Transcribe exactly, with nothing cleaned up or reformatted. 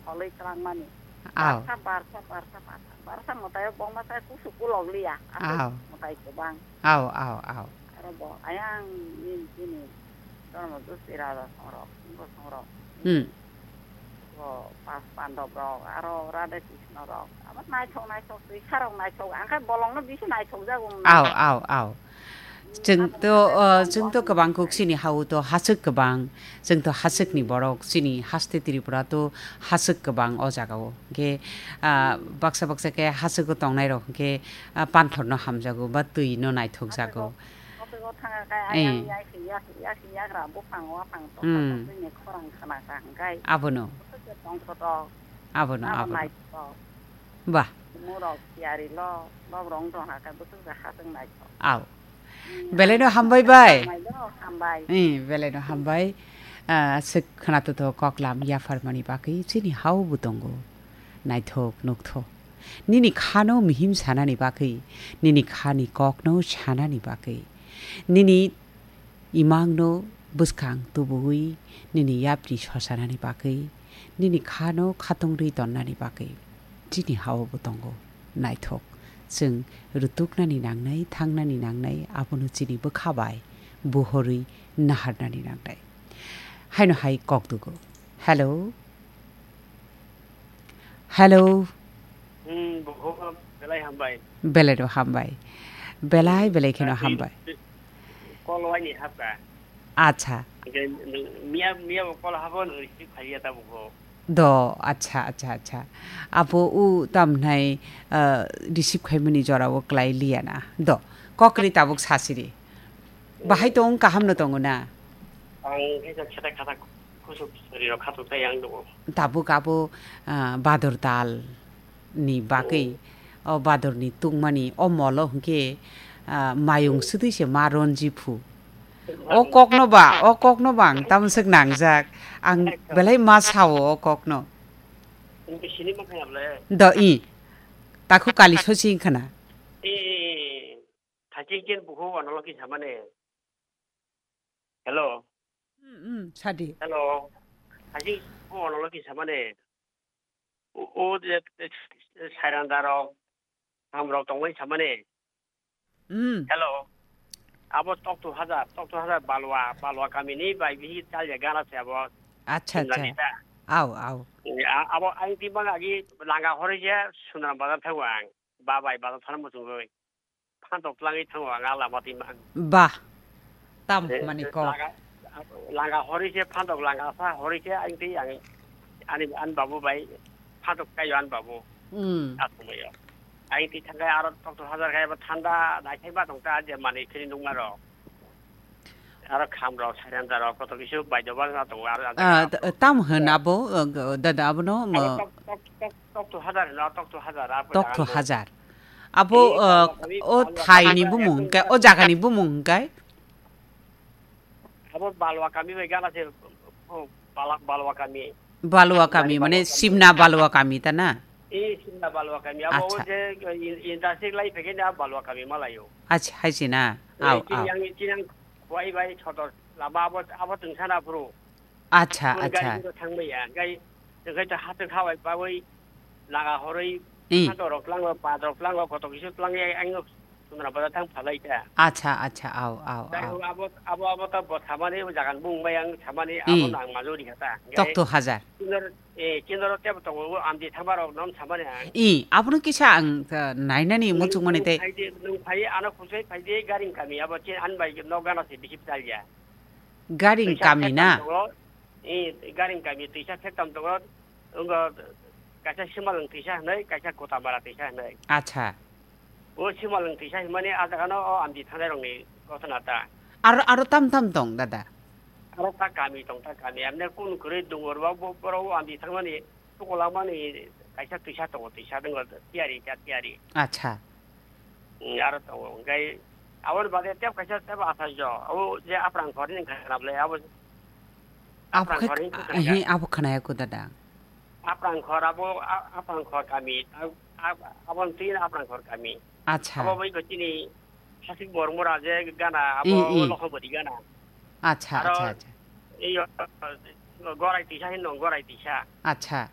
Koloi twlangmani. Aw. Barsa, barsa, barsa, barsa, barsa mwtaio bongma sai kusu kulok liya. Aswk Aw. Mwtai kwbang. Aw, aw, aw. Aro bo ayang nini chini Dharma Dusira rok songrok, Singho songrok. Hmm. Bo Pas Pandab rok, aro Radha Krishna rok. Abo naithok, naithok, twi sarok naithok. Angkhe bolongno bisi naithok jago. Aw, aw, aw. Chwng to, uh, chwng to kwbang kuk chini hao to haswk kwbang. Chwng to haswkni borok, chini haste Tripura to haswk kwbang o jagao. Hwnkhe, uh, baksa baksa khe haswk o tongnai rok hwnkhe, uh, panthor no hamjago ba twi no naithok jago. Haswk o thanga khe Eh. Ayang yasi, yasi, yasi yagra buphang waphang to Hmm. Haswk twi ni khorang khana kha hwnkhe. Abono. Haswk tong koto. Abono, Abo abono. Naithok. Bah. Murok tiyari lo, lob rong tong ha khe bwswk ja haswk naithok. Aw. Belai no hambai bai. Hambai do, hambai. Eh, belai no hambai. Ah, aswk khwnato to koklam yapharmani bagwi chini hao bo tongo. Naithok nukthok. Nini khano mihim sanani bagwi, nini khani kokno sanani bagwi, nini imangno bwskang tubui, nini yapri sosanani bagwi, nini khano khatungri tonnani bagwi. Chini hao bo tongo. Naithok. Chwng rutuknani nangnai, thangnani nangnai, abono chini bwkha bai buhorwi naharnani nangnai. Haino hai kok dugo. Hello. Hello. Hmm, buhok belai hambai. Belai no hambai. Belai, belai kheno Twi, hambai. Twi, kol waini hapka. Acha. Hingke miya, miya bo kol habo no receive khaiya ta buhok. Do, acha, acha, acha. Abo u tamhnai, uh, receive khaimani jora o klai liya na. Do, kokri tabuk sasiri. Bahai tong kaham no tongo na? Ang khe jak seta khata kusuk sori rok khatuk tai ang do. Tabuk abo, ah, bador tal ni bagwi, Hmm. O bador ni tungmani, o molo hwnkhe, ah, mayung Hmm. Swtwi se ma ronji phu. O Mayung. Kokno ba, o kokno ba ang tamswk nangjak. Ang Ekdom. Belai ma sao o kokno. Nini sini ma khaya ble? Do i. Takhu kali sosi khana. E, thaching ken bukhu analogi samane. Hello. Hmm, hmm, sadi. Hello. Haji ko ono loki samane. O, o je, e, e, sairanda rok, ham rok tongmani samane. Hmm. Hello. Abo Tokto Hajar, Tokto Hajar Balwa, Balwa kamini bai bihi talya gana se abo. Acha, acha. Simlani ta. Au, au. E, a-, abo ang tibang agi langa hori je Sundaram bazar thago ang. Ba bai bazar thana muchungoi. Phantok tlangwi thango ang a lama twi mang. Bah. Tam Eh, mani kok. Langa, langa hori se phantok langa sa hori se ang twi ang ani, ani babu bai phantok kayo ani babu. Hmm. Asumai yo. Ang twi thangkai aro Tokto Hajar kai ba thanda nai kai ba tong ta je mani khini nungma ro. Aro kham rok, sairanda rok, koto kisu bai dobar na tongo, aro Ah, jaga t-, tam hwn abo, uh, g-, dada abono, Abo mo-, tok, tok, tok, Tokto Hajar hino, Tokto Hajar, abo Tokto jaga Hajar. Abo, Eh, uh, Balwa kami, o Balwa thai kami ni ba bumung ekdom hwnkhe, o jaga ni bumung hwnkhe? Abo Balwa kami bai gana se, oh, Bala-, Balwa kami. Balwa kami, Mane mane Balwa kami. Simna Balwa kami ta na? Eh, Simna Balwa kami. Abo Acha. O je, in-, industry lai phege na Balwa kami malayo. Acha, hai se na? Eh, Au, kini au. Yang, kini yang Wai bai sotor lama abo, abo tong sana phuru. Acha, Ang acha. Gari no thang maya. Gai, gai to hato khawai bawi laga horoi. I. Hato rok tlango, pa rok tlango, koto kisu tlangi ang no sumra bada thang phalai ta. Acha, acha, au, au, Gai au. Abo, abo, abo to bo samani jagan bung bai ang samani abo I. Nang majori kata. Gai Tokto Hajar. Kinor, eh, kinor tebo tongo, amdi thangma rok nom samani ang. I, abono kisa ang, uh, nainani Nung, muchung mani nung tei. Phai de, nung phai ano khusai phai de garing kami abo chin an bai no gana se bisi phalya. Garing Twisa kami phektam na? Tongo, i, garing kami twisa phektam tongo, wngkha kaisa Simalwng twisa hinwi, kaisa Kotamara twisa hinwi. Acha. O Simalwng twisa hinmani a jaga no o amdi thangnai rokni gotona ta. Aro, aro tam tam tong, dada? Aro ta kami tong, ta kami. Amne kun kwrwi dungo rwba bo, borok o amdi thangmani tukulamani kaisa twisa tongo, twisa tongo, tiyari, ta tiyari. Acha. Mm, aro tongo. Hwnkhe aboni bagwi tebo kaisa tebo asai jo. Abo je Aprang khor ni khana bwle abo Abo Aprang khe, khor ni khana he, ka. Abo khanaya ko dada. Aprang khor abo, a-, Aprang khor kami. A-, a-, abo twi Aprang khor kami. Acha. Abo bai ko chini Hasik Bormora je gana abo I, i. Lokhomori gana. Acha, aro acha, acha. Iyo, gorai tisa hin dong, gorai tisa. Acha.